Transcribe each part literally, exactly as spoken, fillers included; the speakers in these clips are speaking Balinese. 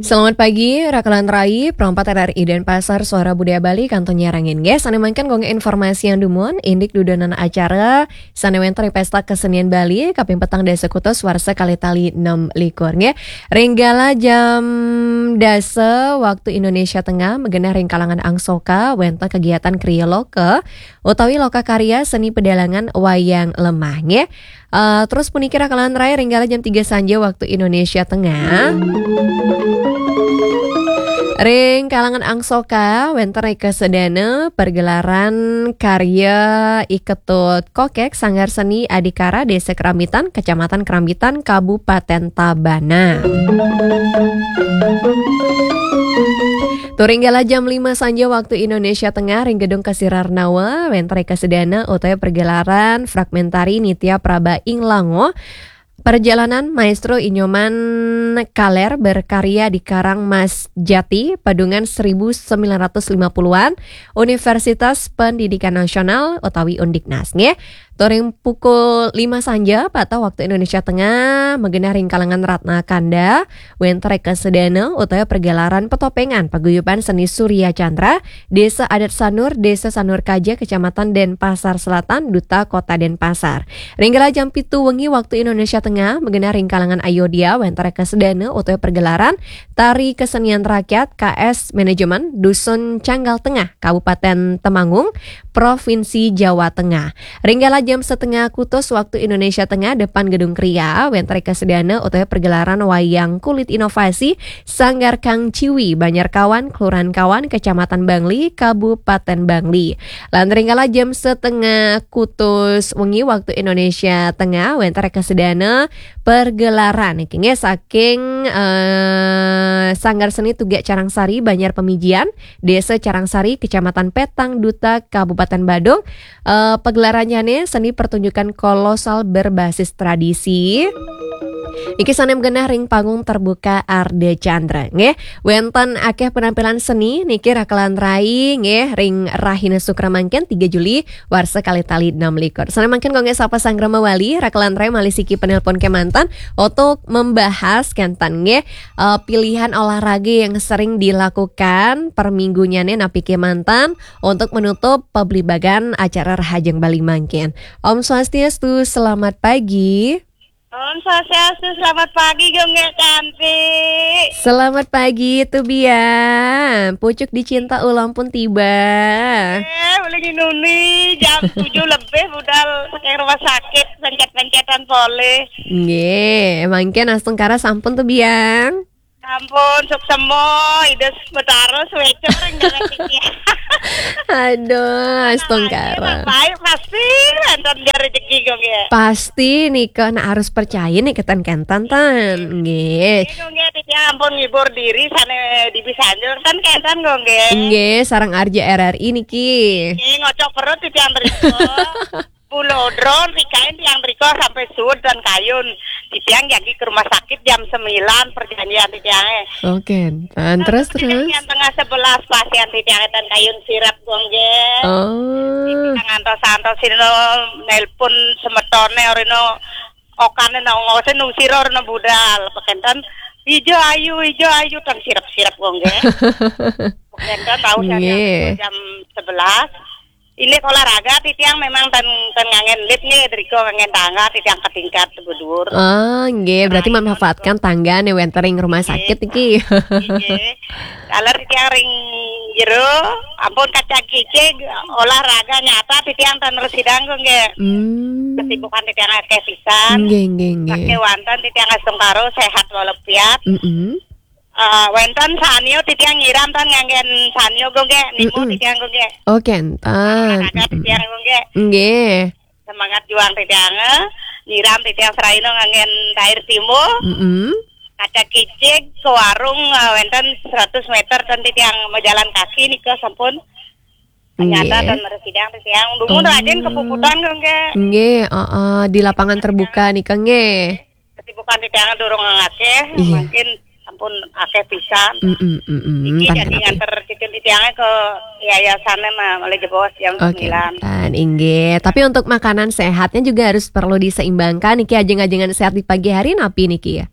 Selamat pagi, Rakalan Rai, Pro empat R R I Denpasar, Suara Budaya Bali, kantun nyarangin. Nggih, sané mangkin nggih informasi andamun, indik dudonan acara sané wénten ring Pesta Kesenian Bali kaping petang dasa kutus warsa kalih tali enam likur, nggih. Ring galah jam dasa waktu Indonesia Tengah, magenah ring kalangan Angsoka wénten kegiatan kriya loka utawi loka karya seni pedalangan wayang lemah, nggih. Eh, terus puniki Rakalan Rai ring galah jam tiga sanja waktu Indonesia Tengah. Ring kalangan Angsoka wénten ring kasadana pergelaran karya I Ketut Kokek, Sanggar Seni Adhikara, Desa Kerambitan, Kecamatan Kerambitan, Kabupaten Tabanan. Tur ring galah jam lima sanja waktu Indonesia Tengah ring Gedung Kasirarnawa wénten ring kasadana utawi pergelaran fragmentari Nitya Praba ing Lango, perjalanan Maestro I Nyoman Kaler berkarya di Karang Mas Jati, Padungan seribu sembilan ratus lima puluhan, Universitas Pendidikan Nasional utawi Undiknas, nggih. Tur ring pukul lima sanja, pata waktu Indonesia Tengah, magenah ring kalangan Ratna Kanda, wénten ring kasadana utawi pergelaran petopengan Paguyuban Seni Surya Chandra, Desa Adat Sanur, Desa Sanur Kaja, Kecamatan Denpasar Selatan, Duta Kota Denpasar. Ring galah jam pitu wengi waktu Indonesia Tengah, magenah ring kalangan Ayodya, wénten ring kasadana utawi pergelaran Tari Kesenian Rakyat K S Manajemen, Dusun Canggal Tengah, Kabupaten Temanggung, Provinsi Jawa Tengah. Ring galah jam setengah kutus waktu Indonesia Tengah, depan Gedung Kria, wénten ring kasadana utawi pergelaran wayang kulit inovasi Sanggar Kang Ciwi, Banjar Kawan, Kelurahan Kawan, Kecamatan Bangli, Kabupaten Bangli. Lan ring galah jam setengah kutus wengi waktu Indonesia Tengah, wénten ring kasadana pergelaran niki, nggih, saking, eh, Sanggar Seni Tugak Carangsari, Banjar Pemijian, Desa Carangsari, Kecamatan Petang Duta, Kabupaten Badung. Eh, pagelarannyane seni pertunjukan kolosal berbasis tradisi. Niki sane magenah ring panggung terbuka Ardha Candra, nggih. Wenten akeh penampilan seni niki Rakalan Rai, nggih, ring rahina Sukra mangkin, tiga Juli, warsa kalih tali enam likur. Sane mangkin kangge sapa sanggra mawali, Rakalan Rai malih siki penelpon kemanten untuk membahas kenten, nggih, eh, pilihan olahraga yang sering dilakukan per minggunyane napi kemanten untuk menutup pabligbagan acara Rahajeng Bali mangkin. Om Swastiastu, selamat pagi. Om Swastiastu, selamat pagi, Gong Nggih Cantik. Selamat pagi, Tu Biang. Pucuk dicinta ulam pun tiba. Eh, boleh nginuni, jam tujuh lebih budal saking rumah sakit, pencet-pencetan polih. Nggih, mangkin astungkara sampun, Tu Biang. Ampun, suksema, Ida Betara, sueca ring jagat iki. Aduh, astungkara. Baik, pasti wenten dia rezeki, Gong Nggih. Pasti nika, nah, harus percaya nih keten-kenten, ten. Nggih. Nggih, Gong Nggih, titiang ampun ngibur diri sane di Bisanjur, ten kenten, Gong Nggih. Nggih, sareng Arja R R I niki. Nggih, ngocok perut titiang mriko. Pulau Dron, tikain tiang mriko sampai suud dan kayun. Titiang jagi ke rumah sakit jam sembilan perjanjian titiange. Oke, ten. Terus, terus? Jam tengah sebelas pasien titiange ten kayun sirep, Gong Nggih. Oh. Titiang antos-antos sira nelpon semetone orino okane nang ngose nung sira orino budal. Pekenten, "Ijo ayu, ijo ayu," ten sirep-sirep, Gong Nggih. Pekenten tahu saya. Nggih. Jam sebelas. Ini olahraga titiang memang ten, ten ngangen lift nih, driko ngangen tangga, titiang ke tingkat bedur. Oh, nggih, berarti memanfaatkan tangga nih wenten ring rumah sakit iki. Nggih. Kalau titiang ring jero, ampun kaca kicik, olahraga nyata titiang ten residang, Gong Nggih. Hmm. Kesibukan titiang akeh pisan. Nggih, nggih, nggih. Pakai wanten titiang astungkara sehat walafiat. Mm-mm. Eh, wenten sanyo titiang nyiram ten nganggen sanyo, Gong Nggih, nimo titiang, Gong Nggih. Oh, kenten. Olahraga titiang, Gong Nggih. Nggih. Semangat juang titiang, eh. Nyiram titiang seraina nganggen air timbul. Mm-mm. Kaca kicik ke warung, eh, wenten seratus meter ten titiang majalan kaki nika sampun. Ternyata ten residang titiang. Dumun rajin kepuputan, Gong Nggih. Nggih, heeh, di lapangan terbuka nika nggih. Kesibukan titiang durung akeh, iya, mungkin ampun akeh pisan. Mm-mm, mm-mm. Iki jadi nganter cicil titiange ke yayasane mah oleh jebos jam sembilan. Oke, ten, inggih. Tapi untuk makanan sehatnya juga harus perlu diseimbangkan. Niki ajeng-ajengan sehat di pagi hari napi niki ya?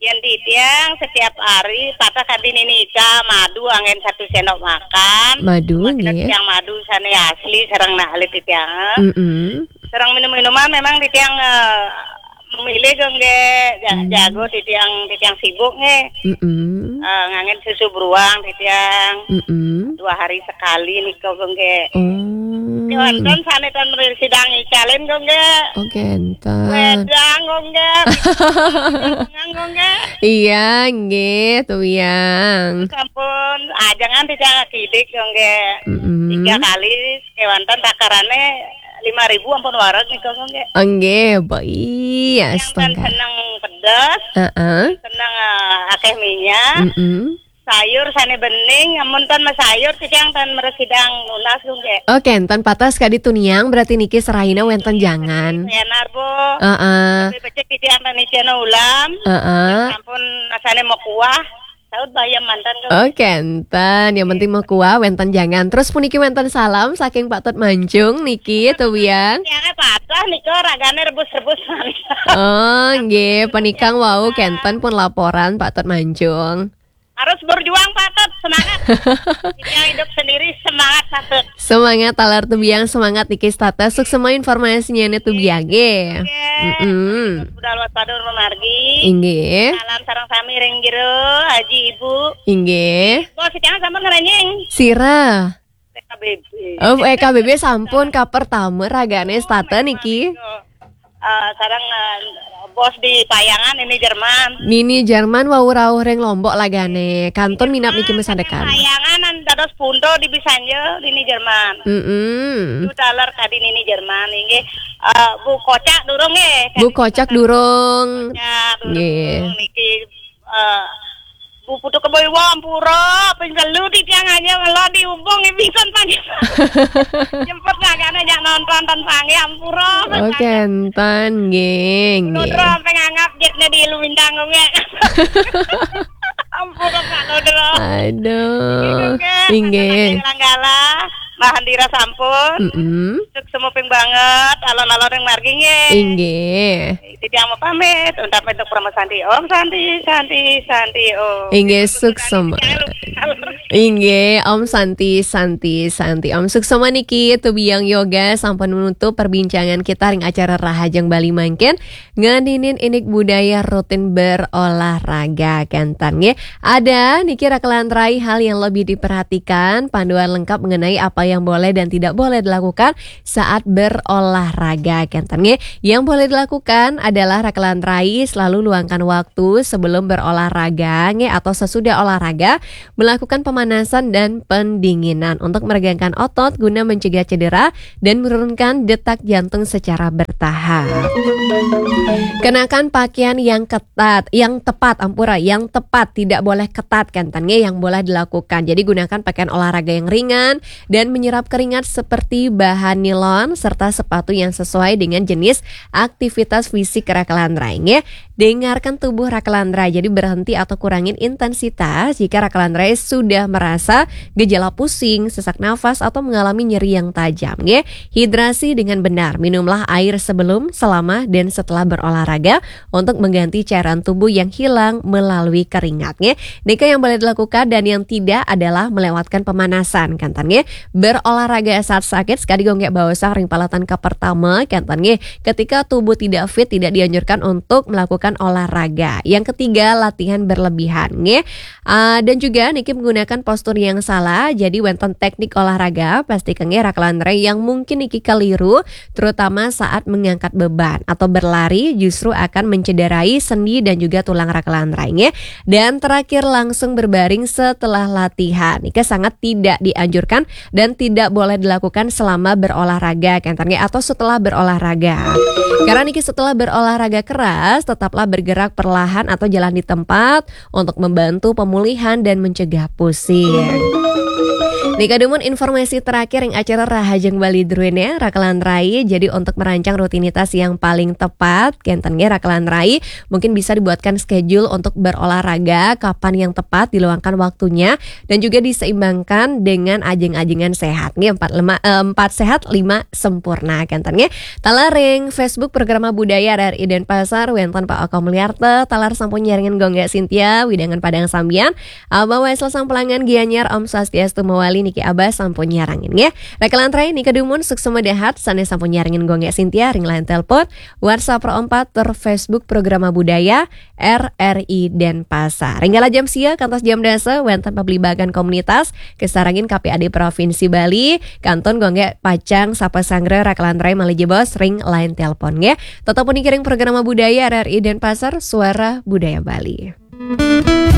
Yén titiang setiap hari patah kadi nini Ika madu anggén satu sendok makan. Madu, nggih. Titiang madu sané asli sareng nak alit titiang. Mm-mm. Sareng minum-minuman memang titiang, eh, memilih kok nggih. Ja-, hmm. Jago titiang, titiang sibuk nggih. Mm-mm. Eh, nganggén susu beruang titiang. Mm-mm. Dua hari sekali nika kok nggih. Oh. Wonten sané ten mriki sidang icalin kok nggih. Oh, kénten. Wedang kok nggih. Kok nggih. Iya, nggih, Tuyang. Sampun, ajengan titiang kidik kok nggih. Mm-mm. Tiga kali, kéwanten takarané lima ribu ampun wareg nika kok nggih. Oh, nggih, Bu. Iya, yang kan astaga. Seneng pedes, heeh. Seneng, eh, akéh minyak. Mm-mm. Sayur sané bening, amun ten masayur, titiang ten mresidang nunas kok nggih. Oh, kénten patos kadi Tuyang, berarti niki serahina wénten jangan. Benar, Bu. Heeh. Tapi becik titiang ten icén ulam. Heeh. Sampun asané makuah. Saut bayam manten kok. Oh, kénten. Yang penting makuah, wénten jangan. Terus puniki wénten salam saking Pak Tut Mancung niki, Tuyang. Tiangé patah nika ragané rebus-rebus. Oh, nggih, penikang wau kénten pun laporan Pak Tut Mancung. Harus berjuang, Pak Tut. Semangat. Kita hidup sendiri, semangat, Pak Tut. Semangat taler Tuyang, semangat niki Tata. Suksma informasinya nih Tuyang, nggih. Oke. Mm-mm. Budal waspada margi. Inggih. Salam sareng sami ring jero, Haji, Ibu. Inggih. Bos, jangan sampai ngerenyeng. Sira. P K B B. Oh, P K B B sampun ka pertama ragané Tata niki. Eh, sareng, eh, bos di Payangan, Nini Jerman. Nini Jerman wau rauh ring Lombok ragané. Kantun minab niki masandekan. Payangan an dados punto di Bisanja, Nini Jerman. Mm-mm. Itu taler kadi Nini Jerman, inggih. Eh, Bu Kocak durung nggih. Bu Kocak durung. Kocak durung. Nggih. Niki, eh, Bu Putu Kebo Iwa, ampura, ping telu titiang aja melo dihubung, nggih, pisan panggih. Jemput ragane jak nonton ten panggih, ampura. Oh, pisan. Kenten, nggih, nggih. Lodro sampai nganggap jetnya di Ilu Bintang, nggih. Ampura, Pak Lodro. Aduh. Nggih, nggih. Inggih. Manggala, Mbah Handira sampun. Mm-mm. Suksma ping banget, alon-alon ring margi, nggih. Inggih. Titiang mau pamit, untuk, untuk Parama Santi. Om Santi, Santi, Santi, Om. Inggih, suksma. Inggih, Om Santi, Santi, Santi. Om suksma niki, Tubiang Yoga, sampun menutup perbincangan kita ring acara Rahajeng Bali mangkin. Ngeninin indik budaya rutin berolahraga, kenten, nggih. Ada niki rakelan rai hal yang lebih diperhatikan, panduan lengkap mengenai apa yang boleh dan tidak boleh dilakukan saat berolahraga, kenten, nggih. Yang boleh dilakukan adalah rakelan rai selalu luangkan waktu sebelum berolahraga, nggih, atau sesudah olahraga, melakukan pemanasan dan pendinginan untuk meregangkan otot guna mencegah cedera dan menurunkan detak jantung secara bertahap. Kenakan pakaian yang ketat, yang tepat, ampura, yang tepat, tidak boleh ketat, kenten, nggih, yang boleh dilakukan. Jadi gunakan pakaian olahraga yang ringan dan menyerap keringat seperti bahan nilon serta sepatu yang sesuai dengan jenis aktivitas fisik rakelan rai, nggih. Dengarkan tubuh rakelan rai, jadi berhenti atau kurangin intensitas jika rakelan rai sudah merasa gejala pusing, sesak nafas, atau mengalami nyeri yang tajam, nggih. Hidrasi dengan benar, minumlah air sebelum, selama, dan setelah berolahraga untuk mengganti cairan tubuh yang hilang melalui keringat, nggih. Nika yang boleh dilakukan dan yang tidak adalah melewatkan pemanasan, kenten, nggih. Berolahraga saat sakit, sekadi gonggek bawasah ring palatan kapertama, kenten, nggih. Ketika tubuh tidak fit, tidak dianjurkan untuk melakukan olahraga. Yang ketiga, latihan berlebihan, nggih. Ah, dan juga niki menggunakan postur yang salah, jadi wénten teknik olahraga, pasti kengge rakelan rai yang mungkin niki keliru, terutama saat mengangkat beban atau berlari justru akan mencederai sendi dan juga tulang rakelan rai, nggih. Dan terakhir langsung berbaring setelah latihan. Niki sangat tidak dianjurkan dan tidak boleh dilakukan selama berolahraga, kenten, nggih, atau setelah berolahraga. Karena niki setelah berolahraga keras, tetaplah bergerak perlahan atau jalan di tempat untuk membantu pemulihan dan mencegah pusing. Nika dumun informasi terakhir ring acara Rahajeng Bali druéné, Rakelan Rai. Jadi untuk merancang rutinitas yang paling tepat, kénten nggih Rakelan Rai, mungkin bisa dibuatkan schedule untuk berolahraga, kapan yang tepat diluangkan waktunya, dan juga diseimbangkan dengan ajeng-ajengan sehat. Nggih, empat lima, eh, empat sehat, lima sempurna. Kénten nggih. Taler ring Facebook Programa Budaya R R I Denpasar, wénten Pak Oko Mulyarta, taler sampun nyarengin Gung Gék Sintia, wewidangan Padang Sambian, Abah Wesel Sampelangan Gianyar, Om Swastiastu Mawali niki Abah sampun nyarengin nggih. Rakelan Rai nika dumun suksma dahat sané sampun nyarengin Gung Gék Sintia ring line telepon, WhatsApp Pro empat tur Facebook Programa Budaya R R I Denpasar. Ring kala jam sia kantos jam dasa wénten pablibagan komunitas kasarengin K P A D Provinsi Bali, kantun Gung Gék pacang sapa sanggra Rakelan Rai malih jebos ring line telepon nggih. Tetep puniki ring Programa Budaya R R I Denpasar, Suara Budaya Bali.